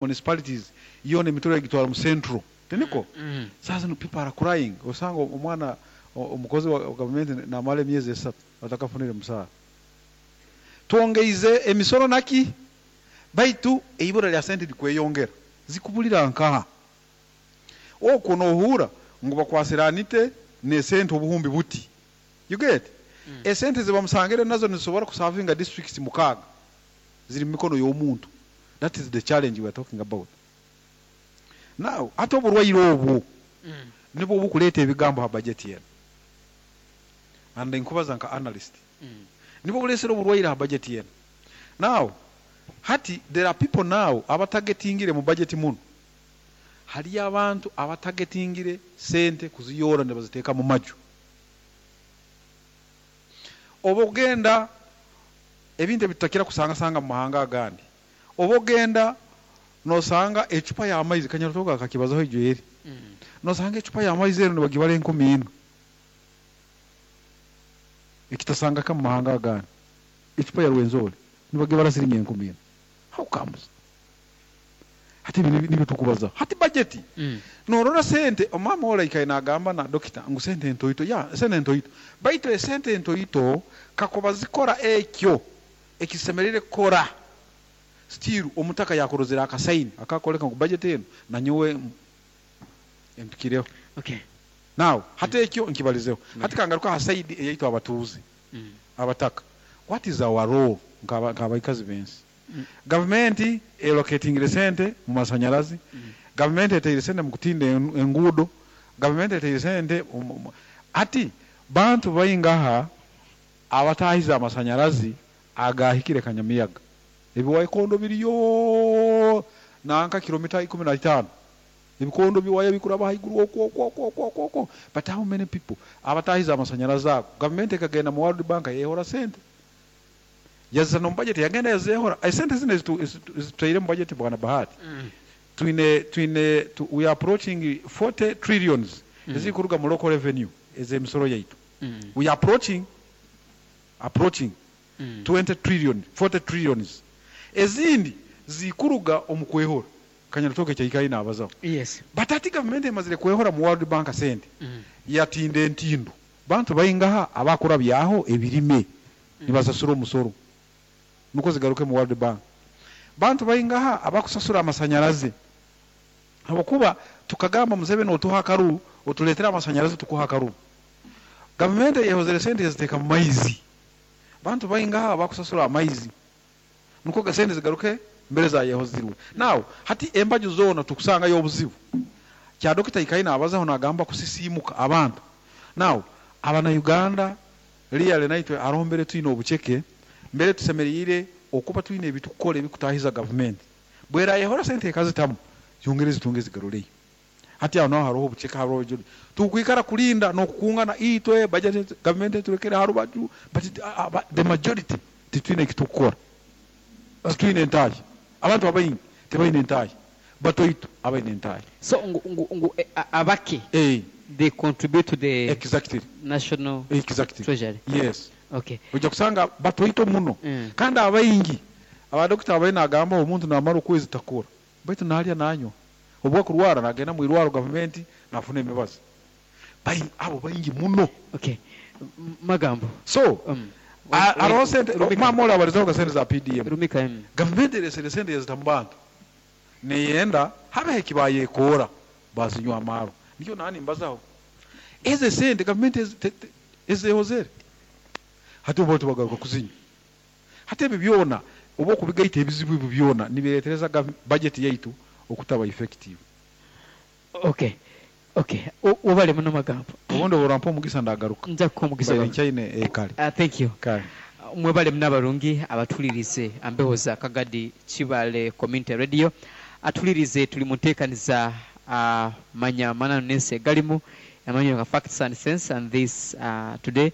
Municipalities yoona emitoro yagitwara mu central, tiniko? Saaha zinu people are crying. Osanga omwana omukozi wa gavumenti namara emyezi 3 atakafunire musaara. Twongeize emisoro naki, baitu eibura lya sente likweyongera, zikubulira nkaha? Okwo nohuura ngu bakwasire Anite n'esente obuhumbi buti. You get? Esente ezibamusangire nazo nizisobora kusavinga districts 6 ziri mu mikono y'omuntu. That is the challenge we are talking about. Now, hati oburwaire obwo nibwo bukuleeta ebigambo ha budget enu. And nkubaza nka analyst. Nibwo bulesere oburwaire ha budget enu. Now, hati there are people now abatagetingire mu budget muno. Haliyo abantu abatagetingire sente kuziyora nibaziteeka mu maju. Oba ogenda ebintu ebitutakira kusangasanga mu mahanga agandi. Oba ogenda nosanga ecupa y'amaizi, Kanyarutoga akakibazaho ijo eri. Nosanga ecupa y'amaizi ero nibagibara 4,000. Ekitasangaka mu mahanga agandi. Ecupa ya Rwenzori nibagibara siringi 4,000. How comes? Hati ebi nibyo tukubaza. Hati budget. Norora sente, omama ora ikaye nagamba na dokita ngu sente ntoito. Ya, sente ntoito. Baitu esente ntoito kakuba zikora ekyo ekisemerire kukora. Still omutaka yakorozera akasaini akakoleka ngu budget eno nanyowe empikireho. Now, hati ekyo nkibalizeho. Hati kangaruka ha side eyaitu abatuuze, abataka. What is our role nk'abaikazi b'ensi? Gavumenti elocatingire sente mu masanyarazi, gavumenti eteire sente mu kutinda enguudo, gavumenti eteire sente hati bantu baingaha abatahize amasanyarazi agahikire Kanyamiyaga. Ebiwaikondo biriyo nanka kilomita 15. Ebikondo biwaya bikuraba haiguru okwo okwo okwo okwo okwo okwo. But how many people abatahize amasanyarazi ago? Gavumenti ekagenda mu World Bank yehora sente. Yazisa no budget yagenda yazehora. Esente zino ezitutaire mu budget, bwana Bahati. Twine, we are approaching 40 trillions ezikuruga mu local revenue ez'emisoro yaitu. We are approaching 20 trillion, 40 trillions. Ezindi zikuruga omu kwehora. Kanyarutoke kyaikaire nabazaho. But ati gavumenti emazire kwehora mu World Bank sente. Yatinda entindo. Bantu baingaha abakura byaho ebirime nibasasura omusoro nuko zigaruke mu World Bank. Bantu baingaha abakusasura amasanyarazi, habwokuba tukagamba, "Museveni, otuha akaruru, otuleetera amasanyarazi, tukuha akaruru." Gavumenti eyehozere sente yaziteeka mu maizi. Bantu baingaha abakusasura amaizi nuko sente zigaruke mbere zayehozirwe? Now hati embaju zoona tukusangayo obuzibu. Kya dokita ikaye nabazaho, nagamba kusisiimuka abantu. Now Abanauganda really naitwe haroho mbere twine obuceke, mbere tusemeriire okuba twine ebitukukora ebikutahiza gavumenti. Bwerayehora sente ekazitamu, zongere zitunge zigaruleyo. Hati aho naho haroho obuceke, haroho tukwikara kulinda n'okukungana itwe budget, gavumenti eturekere ha rubaju. But the majority titwine ekitukukora, titwine entahi. Abantu abaingi tibaine entahi, batoito abaine entahi. So ngu abake they contribute to the national treasury. Yes. Ojja kusanga batoito muno. Kandi abaingi abadokita abaine nagamba omuntu namara okwezi takora, baitu nalya, nanywa. Obu akurwara nagenda mu irwaro gavumenti nafuna emibazi. Abo baingi muno. Okay. Magambo. So aroho sente. Rumika. Mama oli abalizaho ga sente za PDM. Rumika. Gavumenti eresere sente yazita mu bantu, neyenda habeho ekibayekoora bazinywa amaarwa. Nikyo nani mbazaho eze sente gavumenti ezehozere, hati oba tubagaruka kuzinywa. Hati ebyo byona oba okubigaita, ebizibu ebyo byona nibiretereza budget yaitu okutaba effective. Okay. Webale muno, Magambo. Obundi oburampa omugisa ndagaruka. Nja kukuha omugisa. Mbaire nkyaine kale. Thank you. Kale. Mwebale muno abarungi abatulirize ambeho za Kagadi Kibale Community Radio. Atulirize tuli mu nteekaniza manya mananu n'ensi egalimu amanyo nga Facts and Sense, and this today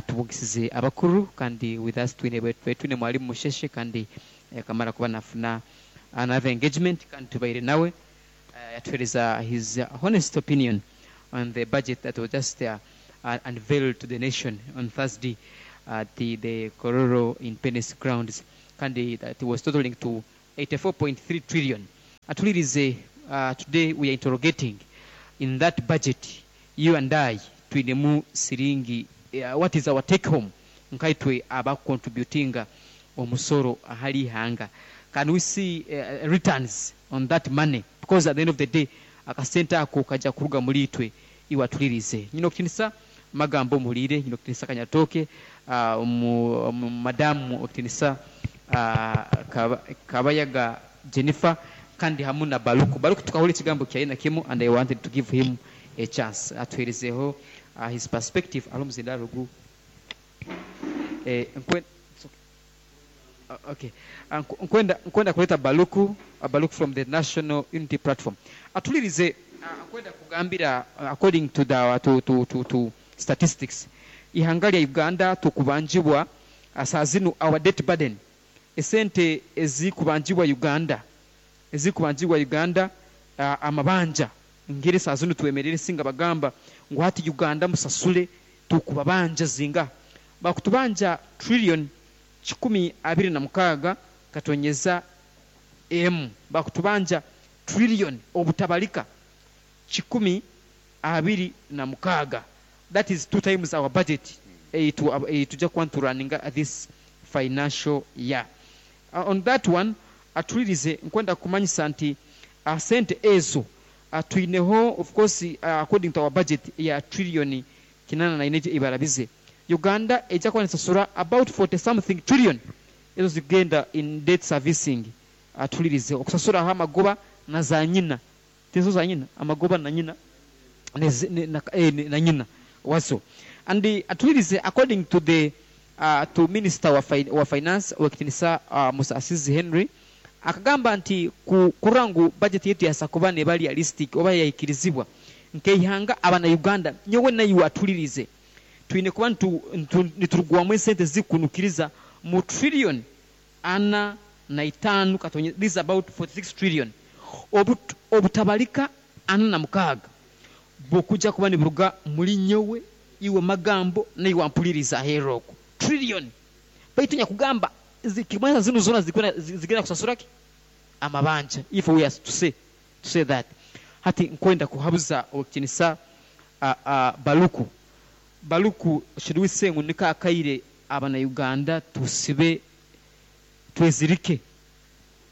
tubugisize abakuru kandi with us twine mwalimu Musheshe kandi kamara kuba nafuna another engagement kandi tubaire nawe yatuhereza his honest opinion on the budget that was just unveiled to the nation on Thursday at the Kololo Independence Grounds, kandi that was totaling to 84.3 trillion. Atulirize, today we are interrogating in that budget, you and I twinemu siringi, what is our take home nkaitwe abacontributinga omusoro ahali ihanga? Can we see returns on that money? Because at the end of the day akasente ako kajja kuruga muri itwe. Iwe atulirize, nyina okutinisa magambo omuhulire, nyina okutinisa Kanyatoke, madamu okutinisa Kabayaga Jennifer, kandi hamu na Baluku. Baluku tukahula ekigambo kyaye na kimu, and I wanted to give him a chance atuherezeho his perspective ari omuzindaro gu okay. Nkwenda kuleta Baluku, Baluku from the National Unity Platform. Atulirize, nkwenda kugambira, according to the to statistics, ihanga lya Uganda tukubanjibwa, saa zinu our debt burden, esente ezikubanjibwa Uganda, ezikubanjibwa Uganda, amabanja ngeri saa zinu twemerere singa bagamba ngu hati Uganda musasule, tukubabanja zinga bakutubanja trillion 126.1, bakutubanja trillion obutabalika 126. That is 2 times our budget tujja kuba nituraninga this financial year. On that one, atulirize, nkwenda kumanyisa nti sente ezo twineho, of course, according to our budget ya trillion 84 ibarabize, Uganda ejja kuba nesasura about 40 something trillion ezo zigenda in debt servicing. Atulirize, okusasuraho amagoba na za nyina, tizo za nyina, amagoba na nyina na nyina wazo. And atulirize, according to the to minister wa finance wekitinisa Musasizi Henry, akagamba nti kurangu budget yetu yasakuba ne bali realistic oba yayikirizibwa nkeihanga abana Uganda nyowe nayo atulirize twine kuba niturugwamu esente zikunukiriza mu trillion 45 katonye, this is about 46 trillion obutabalika 46 bukujja kuba niburuga muri nyowe iwe magambo nayo wampuliriza heroko trillion baitu nyakugamba zikimanya zino zona zigenda kusasura ki amabanja, if we are to say that. Hati nkwenda kuhabuza okinisa Baluku. Baluku, should we say ngu nika akaire abana Uganda tusibe twezirike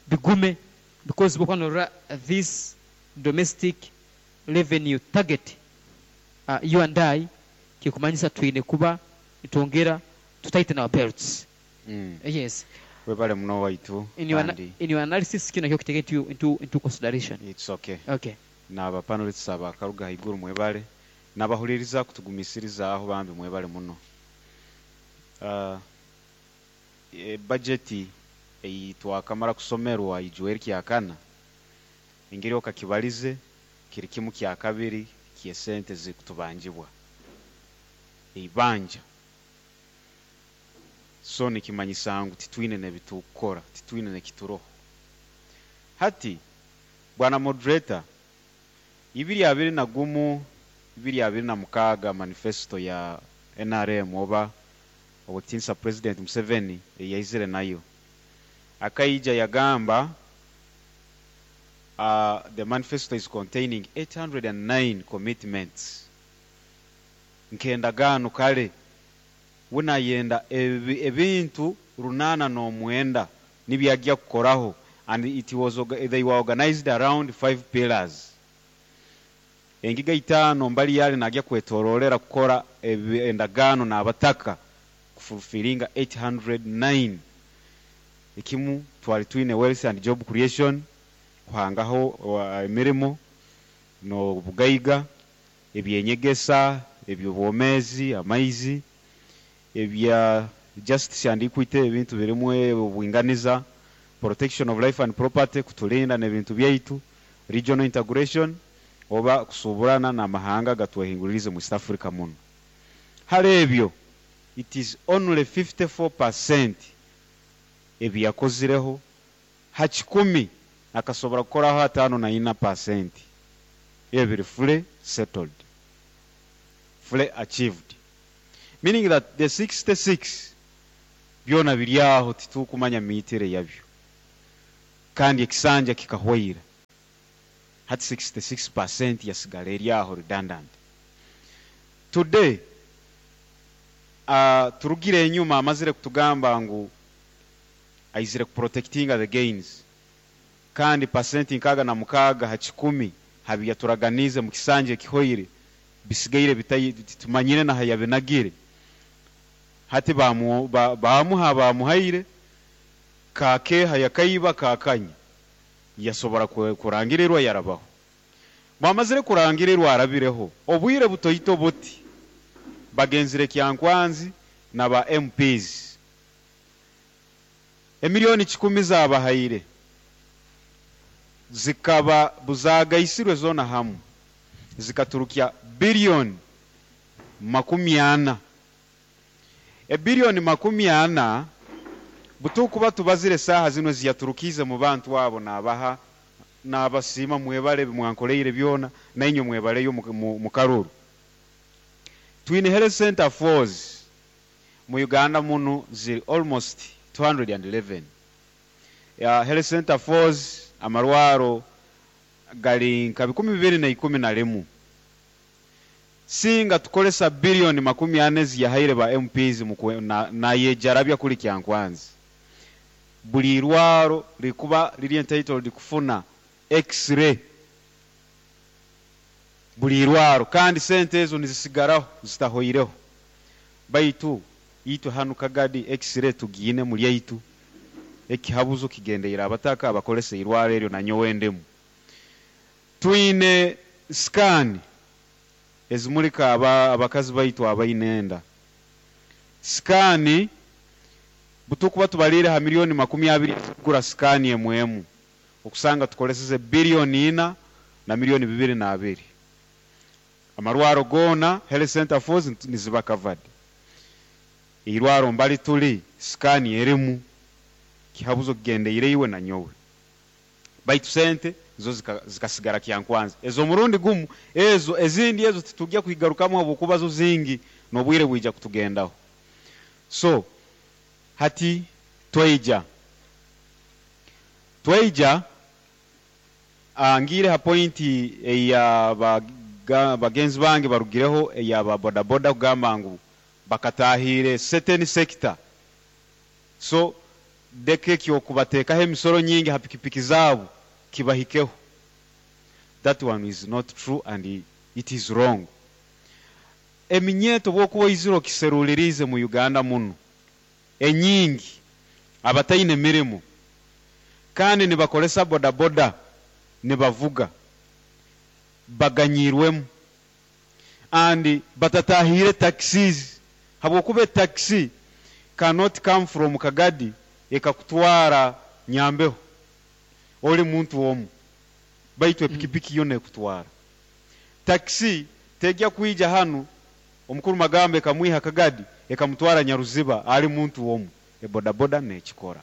bigume, because bukwanora this domestic revenue target, you and I kikumanyisa twine kuba nitwongera to tighten our belts? Yes. Webale muno waitu. In your analysis kino kyo kiteke into consideration. It's okay. Okay. N'aba panelists abakaruga haiguru mwebale, n'abahuliriza kutugumisiriza bambi mwebale muno. Budget eyi twakamara kusomerwa ijuweri kyakana, engeri okakibalize kiri kimu kya kabiri ky'esente zikutubanjibwa eibanja, so nikimanyisa ngu titwine nebitukora, titwine nekituroho. Hati bwana moderator, 2021 2026 manifesto ya NRM oba obutinsa President Museveni eyaizire nayo, akaija yagamba, the manifesto is containing 809 commitments, nkendagaano kale wunayenda ebintu 809 nibyajja kukoraho, and it was they were organized around 5 pillars, engiga 5 mbali yale najya kwetorolera kukora endagaano n'abataka kufulfilinga 809. Ekimu twali twine wealth and job creation, kuhangaho emirimo n'obugaiga, ebyenyegesa, ebyobwomezi, amaizi, ebya justice and equity, ebintu birimu obwinganiza, protection of life and property, kutulinda n'ebintu byaitu, regional integration oba kusuburana n'amahanga gatwehinguririze mu East Africa muno. Hali ebyo it is only 54% ebyakozireho, ha 100 akasobora kukoraho 54%, ebiri fully settled, fully achieved, meaning that the 66 byona biri aho titukumanya miitire yabyo, kandi ekisanja kikahwaira. Hati 66% yasigala eri aho redundant. Today turugire enyuma, amazire kutugamba ngu aizire kuprotectinga the gains, kandi pasenti 66 habi yaturaganize mu kisanja ekihoire bisigaire tumanyire naha yabinagire. Hati bamuha bamuhaire kakeha yakaiba kakanya, yasobora kurangirirwa yarabaho. Bwamazire kurangirirwa arabireho obwire butoito buti, bagenzire Kyankwanzi na ba MPs, emiliyoni 100 zabahaire zikaba buzagaisirwe zona hamu zikaturukya biliyoni 40. Ebiliyoni 40 butukuba tubazire saha zino ziyaturukize mu bantu abo, nabaha nabasiima, mwebale mwankoleire byona, nainywe mwebaleyo mu karuru. Twine health center fours mu Uganda muno, ziri almost 211 ya health center fours. Amarwaro gali nka 2011. Singa tukolesa biliyoni 40 ziyahaire ba MPs nayejarabya kuli Kyankwanzi, buli irwaro likuba liri entitled kufuna x-ray buli irwaro, kandi sente ezo nizisigaraho zitahoireho. Baitu itwe hanu Kagadi x-ray tugiine muri yaitu, ekihabuzo kigendeire abataka abakolesa irwaro eryo, nanyowe ndemu. Twine scan ezimulika abakazi baitu abaine enda. Scan butukuba tubalire ha miliyoni 20 kugura scan emwemu, okusanga tukoleseze biliyoni 4 na miliyoni 202. Amarwaro gona health center fours niziba covered. Irwaro mbali tuli scan erimu, kihabuzo kigendeire iwe na nyowe. Baitu sente zo zikasigara Kyankwanzi ezo murundi gumu. Ezo ezindi ezo titujya kuigarukamu habwokuba zo zingi n'obwire bwija kutugendaho. So hati tweija ngire ha pointi eya bagenzi bange barugireho eya ba bodaboda kugamba ngu bakatahire certain sector, so deke kyokubatekaho emisoro nyingi ha pikipiki zaabo kibahikeho. That one is not true and it is wrong. Eminyeto bwokuba oizire okiserulirize mu Uganda muno, enyingi abataine mirimo kandi nibakolesa bodaboda nibavuga baganyirwemu and batatahire taxis, habwokuba taxi cannot come from Kagadi ekakutwara Nyambeho oli muntu omu, baitu epikipiki yo nekutwara. Taxi tejya kwija hanu omukuru Magambo ekamwiha Kagadi ekamutwara Nyaruziba ali muntu omu. Ebodaboda nekikora.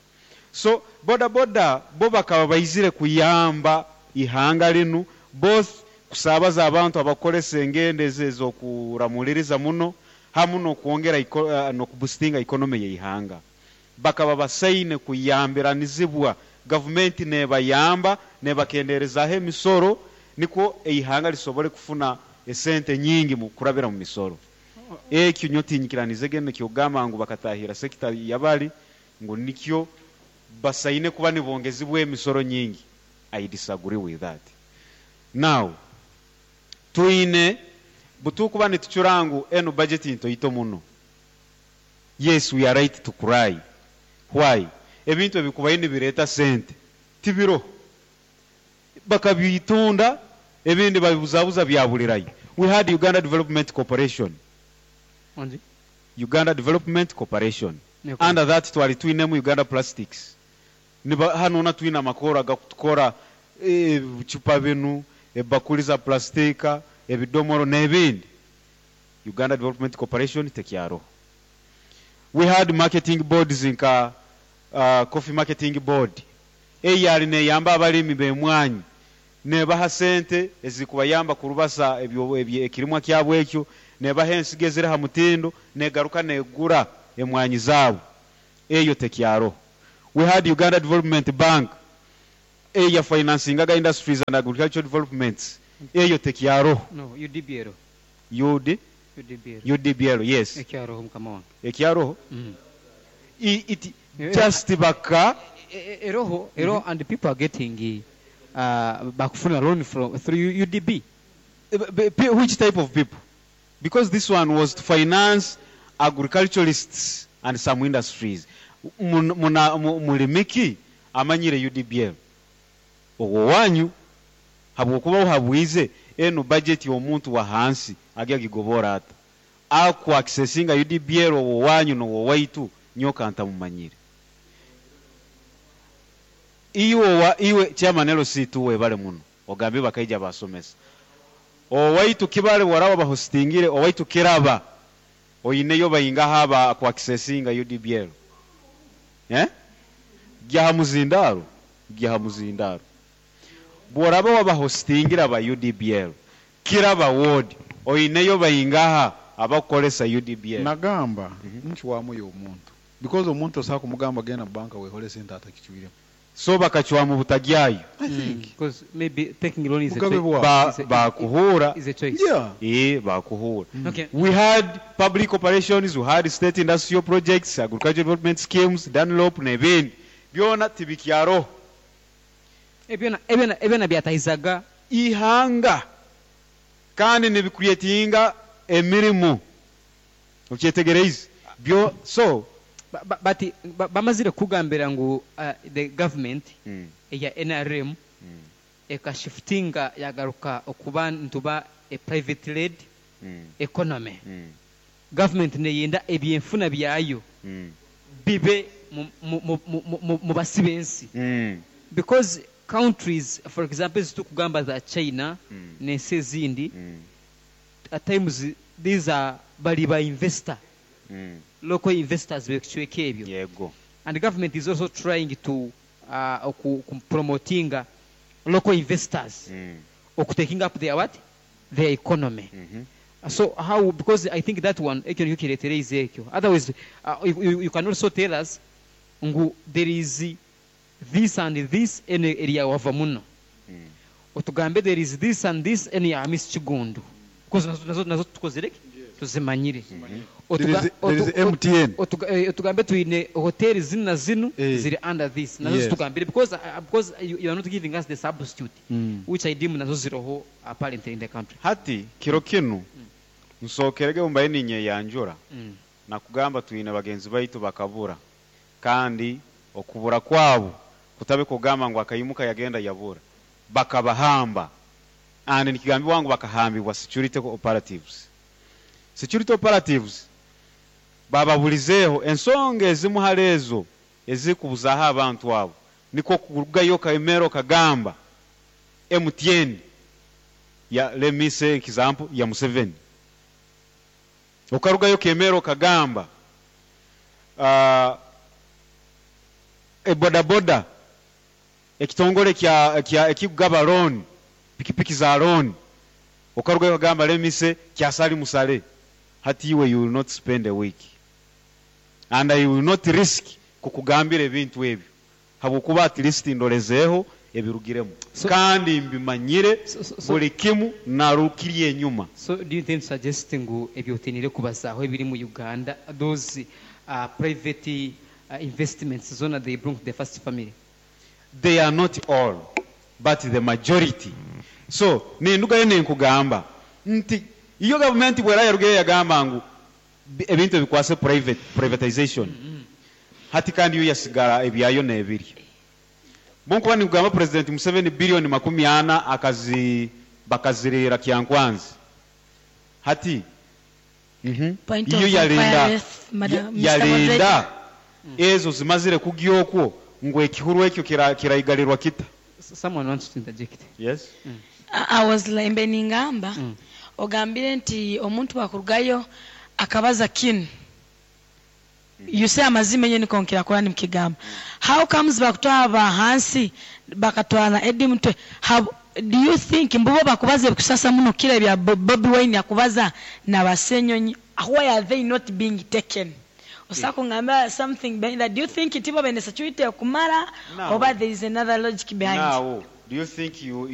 So bodaboda bo bakaba baizire kuyamba ihanga linu, both kusabaza abantu abakolesa engendo ezo ezokuramuliriza muno hamu nokwongera nokuboostinga economy y'ihanga. Bakaba basaine kuyambiranizibwa gavumenti nebayamba nebakenderezaho emisoro, nikwo eihanga lisobole kufuna esente nyingi mu kurabira mu misoro. Ekyo nyo tinyikiranize gene kyogamba ngu bakatahira sekita yabali ngu nikyo basaine kuba nibongezibwa emisoro nyingi. I disagree with that. Now twine butukuba nitucura ngu eno budget ntoito muno. Yes, we are right to cry. Why? Ebintu ebikubayo nibireta sente tibiro, bakabitunda ebindi babibuzabuza byabulirayo. We had Uganda Development Corporation. Onzi? Uganda Development Corporation. Neko. Under that twali twinemu Uganda Plastics. Niba hano na twina amakoro agakutukora ebicupa binu, ebakuli za plastika, ebidomoro n'ebindi. Uganda Development Corporation tekyaro. We had marketing boards nka Coffee Marketing Board. Eyali neyamba abalimi b'emwanyi nebaha sente ezikubayamba kurubasa ebyo ekirimwa kyabwe ekyo, nebaha ensigo eziri ha mutindo, negaruka negura emwanyi zaabo. Eyo tekyaro. We had Uganda Development Bank. Eya financingaga industries and agricultural developments, eyo tekyaroho. No, UDBL. UD? UDBL. UDBL, yes. Ekyaroho, mukama wange. Ekyaroho. Mm. It just baka Eroho, eroho, and people are getting bakufuna loan from through UDB. Which type of people? Because this one was to finance agriculturalists and some industries. Mulimiki amanyire UDBL ogwo wanyu, habwokuba uhabwize eno budget y'omuntu wa hansi agi agigobora ata aku accessinga UDBL ogwo wanyu n'ogwo waitu nyoka ntamumanyire. Iwe wa iwe chairman LC2, webale muno, ogambe bakaija basomesa owaitu kibale waraba bahostingire owaitu kiraba oyineyo bayingaho aba ku accessinga UDBL, eh, gyaha muzindaro, gyaha muzindaro bworaba wabahostingira ba UDBL kiraba ward, oyineyo bayingaha abakukolesa UDBL? Nagamba nkiwamuyo omuntu, because omuntu osobola kumugamba genda banka wehole sente, atakicwiremu. So bakacwamu butagyayo. I think Because maybe taking loan is a Mugabe bwa Bakuhura. is a choice. Bakuhura. Okay. We had public operations, we had state industrial projects, agricultural development schemes, Dunlop n'ebindi byona tibikyaroho. Ebyona byatahizaga ihanga kandi nibicreatinga emirimu, okyetegereize byo, so But bamazire kugambira ngu the government eya NRM ekashiftinga yagaruka okuba ntuba a private led economy. Government neyenda ebyenfuna byayo bibe mu basi b'ensi, because countries, for example, ezitukugamba za China n'ensi ezindi, at times these are bali ba investor, local investors bekicweka ebyo. And the government is also trying to promotinga local investors okutaking up their what, their economy. So how, because I think that one ekyo nikyo kireetereize ekyo. Otherwise you can also tell us ngu there is this and this eno area wava muno, otugambe there is this and this eno ya Miss Kigundu, because nazo tukozere ki, tuzimanyire. There is MTN. Otugambe twine hoteli zinu na zinu ziri under this, nazo zitugambire, because you are not giving us the substitute, which I deem nazo ziroho apparently in the country. Hati kiro kinu nsokerege mbaye ninyeyanjura nakugamba twine bagenzi baitu bakabura, kandi okubura kwabo kutabe kugamba ngu akayimuka yagenda yabura, bakabahamba, and nikigambibwa ngu bakahambibwa security operatives. Security operatives bababulizeeho ensonga ezimu hali ezo ezikubuzaho abantu abo, niko kurugayo kaemero kagamba MTN ya, let me say example ya Museveni, okarugayo kemero kagamba ebodaboda, ekitongole kya ekigaba loan, pikipiki za loan, okarugayo kagamba, let me say, kya Sali Musale. Hati iwe you will not spend a week and I will not risk kukugambira ebintu ebyo, habwokuba at least ndolezeeho ebirugiremu kandi mbimanyire buli kimu narukiri enyuma. So do you intend suggest ngu ebyotinire kubazaaho ebiri mu Uganda, those private investments zona, they bring to the first family? They are not all, but the majority. So nindugayo ninkugamba nti iyo gavumenti bwera yarugeyo yagamba ngu ebintu ebikwase private, privatization, hati kandi yo yasigara ebyayo nebiri. Bonkuba nikugamba President Museveni biliyoni 40 akazi bakazirira Kyankwanzi hati. Point Iyo of yalinda inquiry, Madam, Mr. yalinda Moderator. Ezo zimazire kugyokwo ngu ekihuru ekyo kiraigalirwa kita. Someone wants to interject. Yes. I was like, ningamba ogambire nti omuntu wakurugayo akabaza kinu, you say amazima enye niko nkirakora nimukigamba. How comes bakutwara bahansi bakatwara Eddie Mutwe? How do you think mbubo bakubaza ebikusasa muno kira bya Bobi Wine akubaza na basenyonyi? Why are they not being taken? Osobola kungamba something behind that? Do you think nti bo baine security ekumara Now- oba there is another logic behind? Now, do you think you